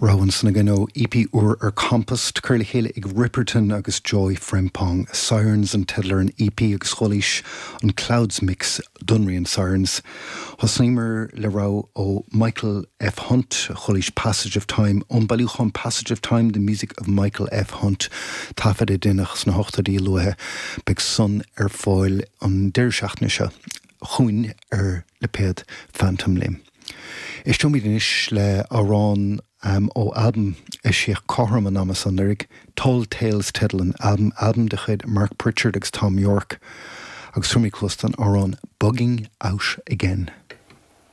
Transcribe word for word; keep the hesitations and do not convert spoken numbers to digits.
Rogha ansan againn ó EP úr ar Compost curtha le chéile ag Ripperton agus Joy Frempong. Sirens an teideal ar an EP agus chualaís an Clouds Mix don rian Sirens. Thosnaíomar le rogha ó Michael F. Hunt chualaís Passage of Time ón bailiúchán Passage of Time the Music of Michael F. Hunt taifead a déanadh sna hochtóidí luatha beidh san ar fáil an deireadh seachtaine seo chugainn ar lipéad Phantom Limb. Éisteoimid anois le amhrán um, ó albam a eisíodh cothrom an ama anuraidh, Tall Tales teideal an albam albam de chuid Mark Pritchard agus Thom Yorke, agus tabharfaimid cluas don amhrán Bugging Out Again.